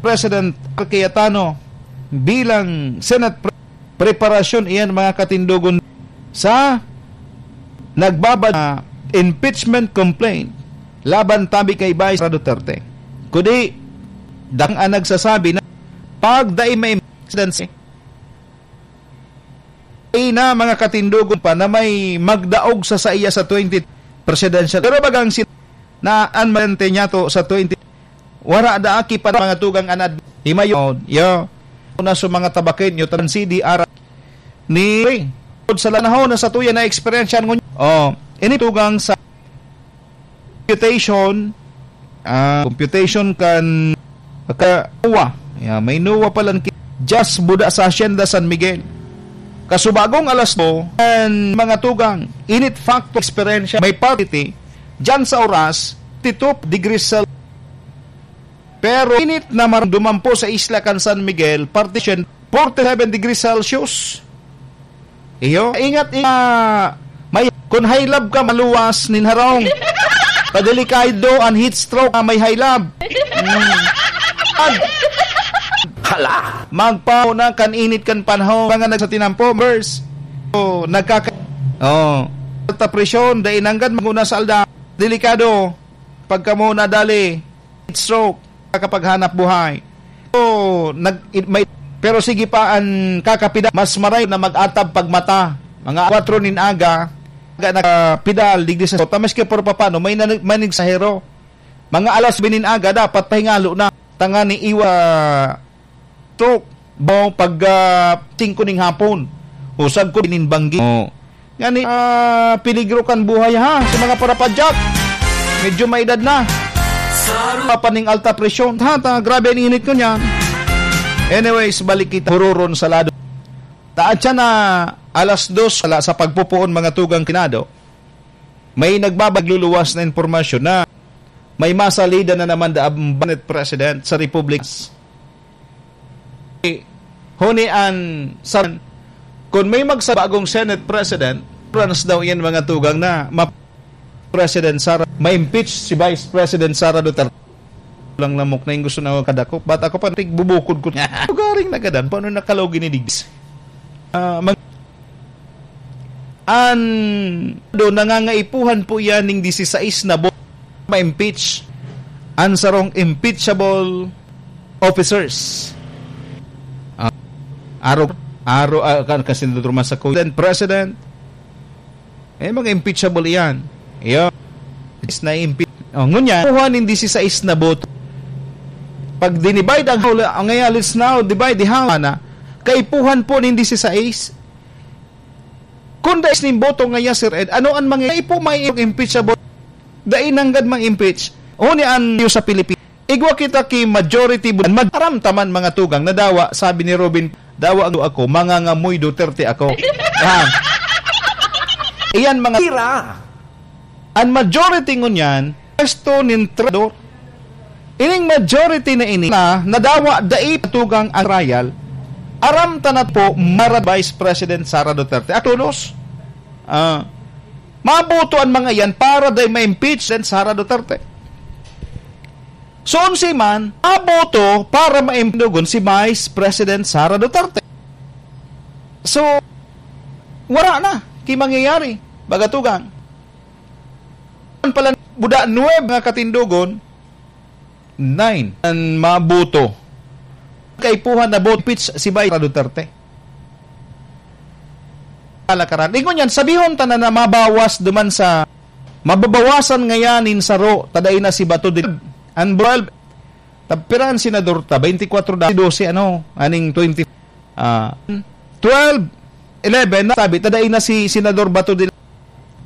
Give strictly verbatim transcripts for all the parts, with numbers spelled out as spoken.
President Cayetano bilang Senate Pre-, preparasyon iyan, mga katindogon, sa nagbabad-, impeachment complaint laban tabi kay Vice Sara Duterte. Kundi, dakang ang nagsasabi na pag dai may presidency, ay na mga katindogon pa na may magdaog sa saiya sa twenty presidential. Pero bagang si-, na an malente niya to sa twenty, wara da aki pa mga tugang anad. Himayo, yo. Una sa mga tabakin, yo, tan C D R ni sa lanahon na sa tuya na eksperyensya ngunyan. Oh, ini tugang sa computation, ah, computation kan ka-, NOAA. Ya, may NOAA palan ki-, just buda sa Hacienda San Miguel. Kasubagong alas dos, an mga tugang, init factor eksperyensya, may parity, dyan sa oras, titup degrees Celsius. Pero init na maramdaman po sa isla kan San Miguel, partition, forty-seven degrees Celsius. Iyo, ingat, ingat. May, kun high love ka, maluwas nin harong. Padelikado an heat stroke na may high love. Mm. Ag-, hala! Magpauna kan init kan panahon, mga nagsatinampo, members. O, nagkaka-, oh. Alta presyon, dai nanggad mag-una sa alda. Delikado. Pagka mo nadali, heat stroke, kakapaghanap buhay. So, nag-, it-, may, pero sige pa an kakapida, mas maray na mag-atab pagmata. Mga kwatro nin aga, aga na pidal, digdi sa sota, maski por papano, may nanig-, manig sa hero. Mga alas nuebe nin aga, dapat pahingalo na. Tangani iwa stroke, baw pag, ah, singko ning hapon. Usag ko nin banggi. Oh. Ngani, ah, peligro kan buhay, ha, sa mga parapadyak. Medyo may edad na. Sa paning alta presyon. Ha, ta, grabe ang init ko niyan. Anyways, balik kita. Huroron sa lado. Taad siya na alas dos, wala sa pagpupuon, mga tugang kinado. May nagbabagluluwas na impormasyon na may masalida na naman da ang Senate President sa Republika. Huni an sa-, kun may magsabagong Senate President, France daw iyan mga tugang na ma-, President Sara, ma-impeach si Vice President Sara Duterte. Lang lamok na yung gusto na kadakop. Ba't ako pa tigbubukod ko? Lugaring nagadan, paano nakalaw ginidigis? Ah, mag-, an, do, nangangaipuhan po yan ning disisais na bo-, ma-impeach. An sarong impeachable officers. Ah, aro, aro, ah, kan, kasi Duduruman sa Senate President, eh, mga impeachable iyan. Iyo. Is na impeach. Oh, ngunyan, kuha nin disisais na boto. Pag dinivide ang House, ang ngayon, let's now divide the House na. Kaipuhan po nin disisais. Kung dais nin boto ngaya, Sir Ed, ano ang mga ipo may impeachable? Dai nanggad mang impeach. Huni an sa Pilipinas. Igwa kita ki majority bu-, mag-, aram taman mga tugang na dawa, sabi ni Robin, "Dawa ang ako, mangangamoy Duterte ako." Ah. Iyan mga tira. An majority ngunyan, pwesto nin traidor. Ining majority na ini na nadawa dai patugang ang trial. Aram ta na po, marad Vice President Sara Duterte. At todos, ah, maboto an mga iyan para dai ma-impeach si Sara Duterte. So, onse man, aboto para maimdugon si Vice President Sara Duterte. So, wala na ki mangyayari, baga tugang. An pala, buda nuwebe nga katindogon, nine an maboto. Kaipuhan na boto pitch si Vice Duterte. Kalakaran. Ingon yan, sabihon ta na, na mabawas duman sa, mababawasan ngayan nin saro, ta dai na si Bato de, an twelve, ta pira an senador ta, twenty-four da, dose, ano, aning twenty, ah, twelve, eleven, na sabi, ta dai na si Senador Bato de,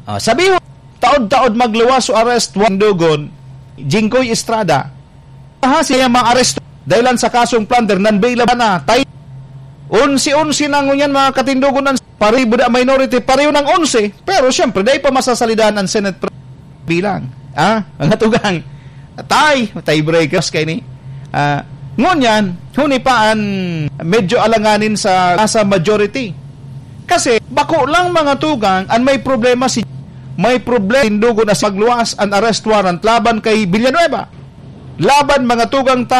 ah, sabihon, taod-taod magluwas o arrest, Wandogon, Jinggoy Estrada, ha, siya maaresto, dahil lang sa kasong plunder, non-bailable na, tay, onse-onse na ngunyan, mga katindogon, ang paribo da minority, pareho ng onse, pero siyempre, dahil pa masasalidahan ang Senate pre-, bilang, ah, mga tugang, tie, tiebreakers kayo ni, ah, ngunyan, huni pa an medyo alanganin sa, sa majority. Kasi, bako lang mga tugang, an may problema si, may problema, tindugo na sa magluwas, an arrest warrant laban kay Villanueva. Laban mga tugang tabi,